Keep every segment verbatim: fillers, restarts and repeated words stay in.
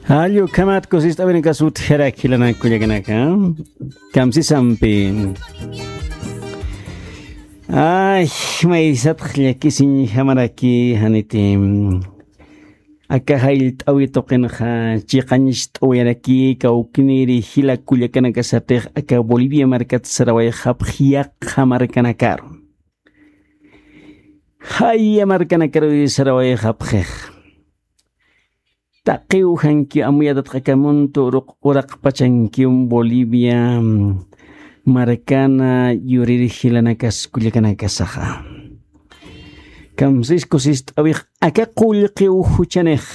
Alli ukhamat kusist'awinakas utjarak jilanak kullakanaka. Kamsisampi. Ay, maysatx llakisiñ jamaraki janiti. Aka jallt'awi tuqinxa chiqañcht'awayaraki kawkniri jila kullakanakasatix aka Bolivia markat sarawayxapx yaqha markanakaru. Jaya markanakaruy sarawayxapxix. Taqiw jankiw amuyatatx aka munt uruq uraqpachankiw Bolivia, mm, markana yurir jilanakas kullakanakasaxa. Kamsis kusist'awix aka qullqiw juchanix.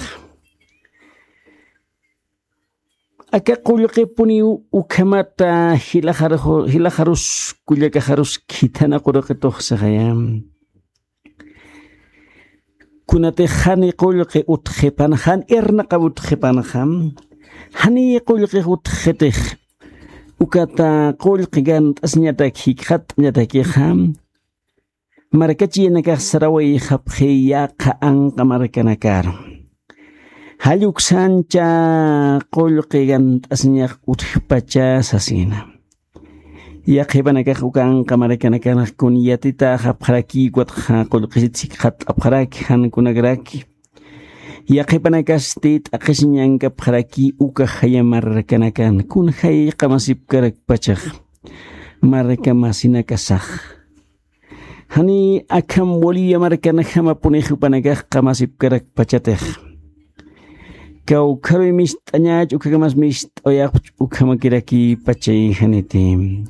Aka qullqipuniw ukhamata jilaxarxu-, jilaxarus kullakaxarus khithana quruqituxsixaya. Kunatix jani qullqi utxipan, jan irnaqaw utxipanxa, jani qullqix utxitix, ukata qullqi gant'asiñatak jikxat'añatakixa, markachirinakax sarawayxapxi yaqha anqa markanakar. Jall uksancha qullqi gant'asiñax utjpacha sasina. Yaqhipanakax uka anqa markanakanx kun yatitäxapxaraki, ukatxa qullqisit jikxat'apxaraki, jan kunakaraki. Yaqhipanakasti t'aqhisiñankapxaraki uka jaya markanakan, kun jay qamasipkarakpachax marka masinakasax. Jani akham Bolivia markanjamapunix jupanakax qamasipkarakpachatix. Kawkharuy mist'añach, ukhakamas mist'awayapxch, ukhamakirakipachax janiti.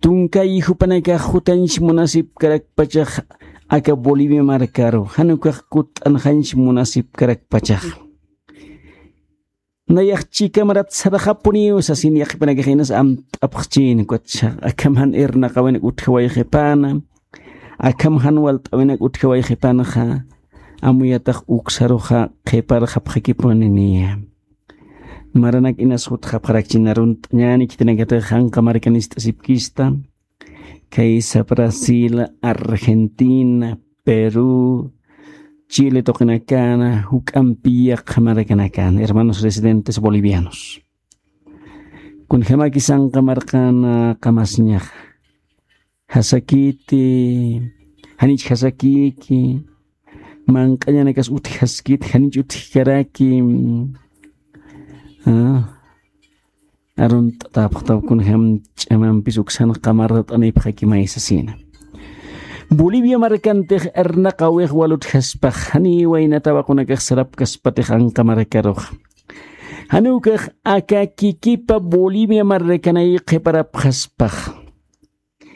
Tunkay jupanakax jutañch munasipkarakpachax aka Bolivia markaru, jan ukax kutt'anxañch munasipkarakpachax. Nayax chika marat sarxapuniw sasin yaqhipanakax inas amt'apxchin, ukat akham jan irnaqawinak utjawayxipana, akham jan walt'awinak utjawayxipanxa, amuyatax uksaruxa qhiparxapxakipuni niya. Maranak inas jutxapxarakchin arunt'añäni khitinakatix anqa markan ist'asipkista, kaysa Brasil, Argentina, Perú, Chile tuqinakana, juk'ampi yaqha markanakana, hermanos residentes bolivianos. Kunjamakis anqa markan qamasiñaxa. Jasakiti, janich jasakiki, manq'añanakas utjaskit, janich utjkaraki, ah, arunt'atäpxtaw kunjam ch'amampis uksan qamarrat'anipxakimay sasina. Bolivia markantix irnaqawix wal utjaspax, janiw wayna tawaqunakax sarapkaspatix anqa markarux. Janiw ukax aka kikipa Bolivia markanay qhiparapxaspax.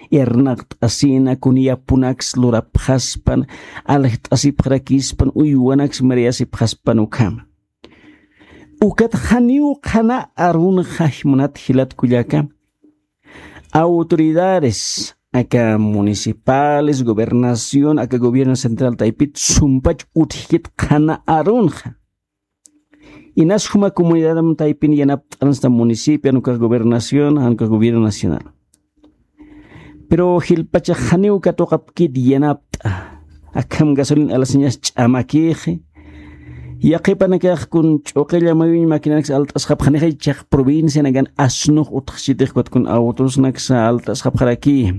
Irnaqt'asina kun yapunaks lurapxaspan, aljt'asipxarakispan, uywanaks mirayasipxaspan ukhama. Ukat janiw qhana arunxa munat jilat kullaka. Autoridades, aka municipales, gobernación, aka gobierno central taypit, sumpach utjkit qhana arunxa. Inas juma comunidadam taypin yanapt'ansta municipio, jan ukax gobernación, jan ukax gobierno nacional. Pero jilpachax janiw katuqapkit yanapt'a. Akham gasolina alasiñas ch'amakixi. Yaqhipanakax kun ch'uqilla mayuñ maquinanaks alt'asxapxanixay, chax provincianakan asnux utjchitix, ukat kun autosnaksa alt'asxapxaraki.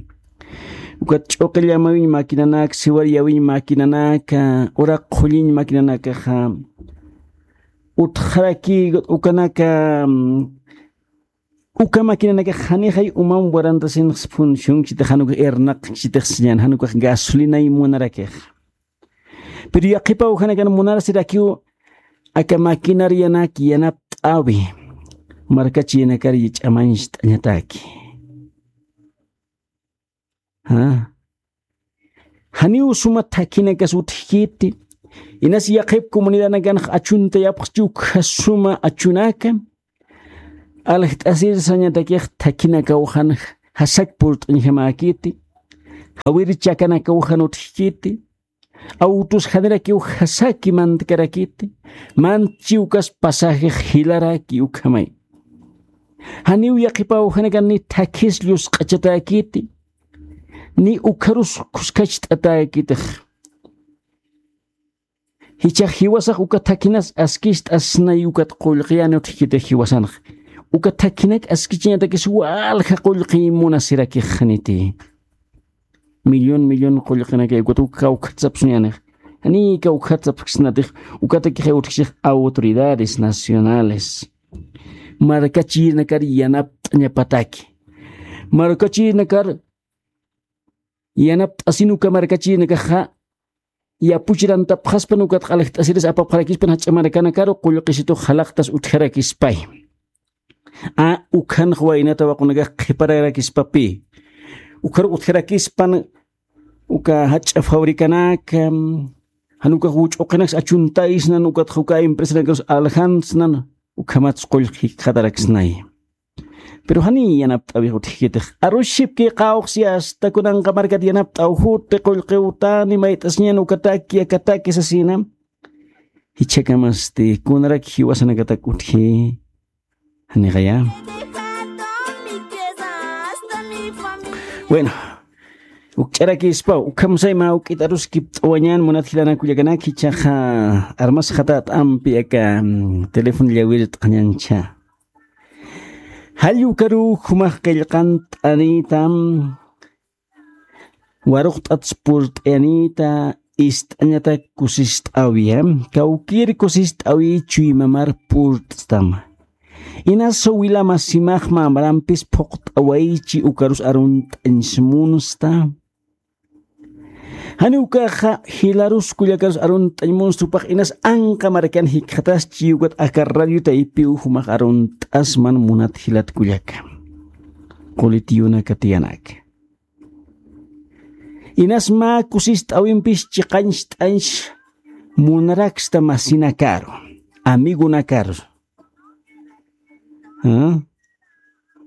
Ukat ch'uqilla mayuñ maquinanaka, siwar yawiñ maquinanaka, uraq qulliñ maquinanakaxa utjaraki, ukanaka, mm, uka maquinanakax janixay umam warantasinx funcionkchitix, jan ukax irnaqkchitix siñan, jan ukax gasolinay munarakix. Pero yaqhipaw janakan munarasirakiw aka maquinarianak yanapt'awi, markachirinakar ch'amañcht'añataki. ¿Ah? Janiw suma thakhinakas utjkiti. Inas yaqhip comunidadnakanx achuntayapxchi ukkha suma achunaka. Aljt'asir sañatakix thakhinakawxan jasak purt'uñjamäkiti. Jawir chakanakawxan utjkiti. Autos janirakiw jasaki mantkarakiti. Mantchi ukas pasajex jilaraki ukhamay. Janiw yaqhipaw janakan ni thakhis llusq'achatäkiti, ni ukharus khuskacht'atäkitix. Jichhax jiwasax uka thakhinas askist'asnay ukat qullqiyani utjkitix jiwasanx. Uka thakhinak askichañatakis walja qullqiy munasirakixniti. Millón, millón qullqinakay ukat uk kawkhatsapsuñanix. Jani kawkhatsapksnatix ukatakixay utjkchix autoridades nacionales. Markachirnakar yanapt'añapataki. Markachirnakar yanapt'asin uka markachirnakaxa yapuchirantapxaspan ukat q'alajt'asiris apapxarakispan jach'a markanakaru qullqisitux jalaqtas utjarakispay. A, ukhanx waynata waqunakax qhipararakispapï. Ukharu utjarakispan uka jach'a fabricanaka, jan ukax uch'uqinaks achuntaysnan, ukatx uka empresanakarus aljansnan, ukhamats qullq jikxataraksnay. Pero janiy yanapt'äwix utjkitix. Arushipki qawqsi asta kunanqa markat yanapt'äw juti qullqiwtani mayt'asiñan ukataki akataki sasina. Jichhakamasti kunarak jiwasanakatak utji. Janixaya. Bueno, ukch'arakispaw, ukham sayma uk'it aruskipt'awañan munat jilanak kullakanak, jichhaxa armasxatat ampi aka, mm, teléfono llawirt'añancha. Jall ukaru jumax qillqant'anïta, waruqt'ats purt'ayanïta, ist'añatak kusist'äwi, kawkïr kusist'äwi chuymamar purt'stama. Inas wila masimax mamarampis phuqt'awaychi ukarus arunt'añs munsta. Jani ukaxa jilarus kullakarus arunt'añ munstupax inas anqa markan jikxataschi ukat aka radio taypiw jumax arunt'asman munat jilat kullaka. Qulitiyunaka tiyanaka. Inas mä kusist'äwimpis chiqañcht'añs munaraksta masinakaru, amigonakaru. ¿Ah?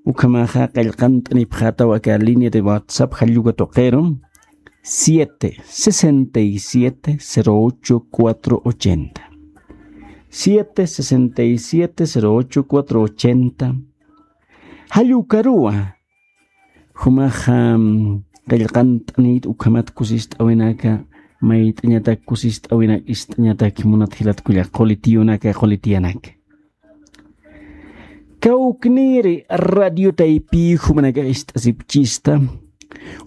Ukhamaxa qillqant'anipxätaw aka línea de WhatsApp jall uka tuqiru, siete sesenta y siete cero ocho cuatro ochenta. Siete sesenta y siete cero ocho cuatro ochenta. Jall ukaruwa. Jumax, am, qillqant'anït ukhamat kusist'äwinaka, mayt'añatak kusist'äwinak ist'añatak munat jilat kullak, qulitiyunaka, qulitiyanaka. Kawknïri radio taypi jumanakax ist'asipchista,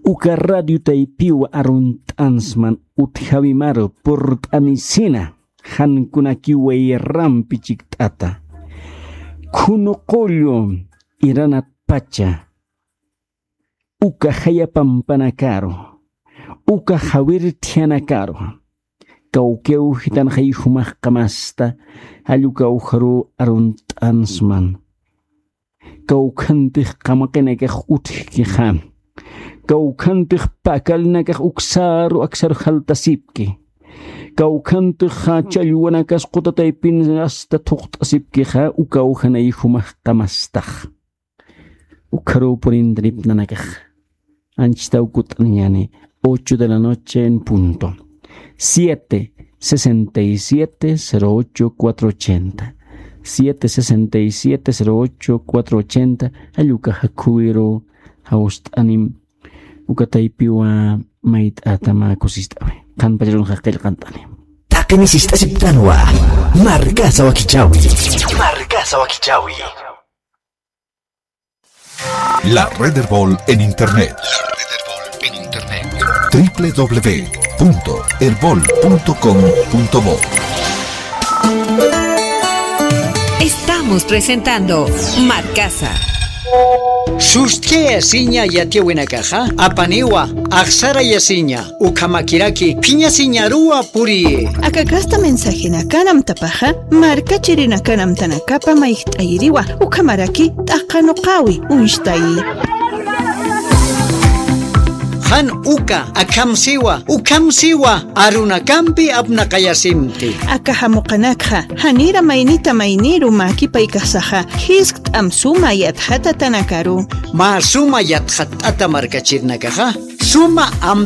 uka radio taypiw arunt'ansman utjawimaru purt'anisina, jankunakiw wayrampi chikt'ata. Khunu qullu iranat pacha, uka jaya pampanakaru, uka jawir thiyanakaru, kawkiw jitanxay jumax qamasta, jall uka ukaru arunt'ansman. Kawkhantix qamaqinakax utjkixa. Kawkhantix pakalinakax uksaru aksaru jaltasipki. Kawkhantix challwanakas quta taypin asta thuqt'asipkixa, ukaw janay jumax qamastax. Ukharuw purintiripnanakax. Anchhitaw kutt'aniñäni, ocho de la noche en punto. Siete sesenta y siete cero ocho cuatro ochenta. Siete sesenta y siete cero ocho cuatro ochenta. Jall uka jakhuwiru jawst'anim, uka taypiwa mayt'ätama kusist'äwi. Qhanpacharunxa qillqant'ani. Taqini sist'asiptanwa. Markasa wakichäwi. Markasa wakichäwi. La Red Erbol en Internet. La Red Erbol en Internet. W W W punto erbol punto com punto bo. Estamos presentando Markasa. Sust'ayasiña yatiyäwinakaxa, apaniwa, axsarayasiña, ukhamakiraki phiñasiñaruwa puriyi. Aka kasta mensajenakan amtapaxa, markachirinakana amtanakapa mayjt'ayiriwa, ukhamaraki t'aqanuqawi uñstayi. Jan uka, akham siwa, ukham siwa, arunakampi apnaqayasimti. Aka jamuqanakxa, janira maynita mayniru mä kipaykasaxa, jiskt'am suma yatxatatanakaru. Mä suma yatxatt'ata markachirinakaxa, suma am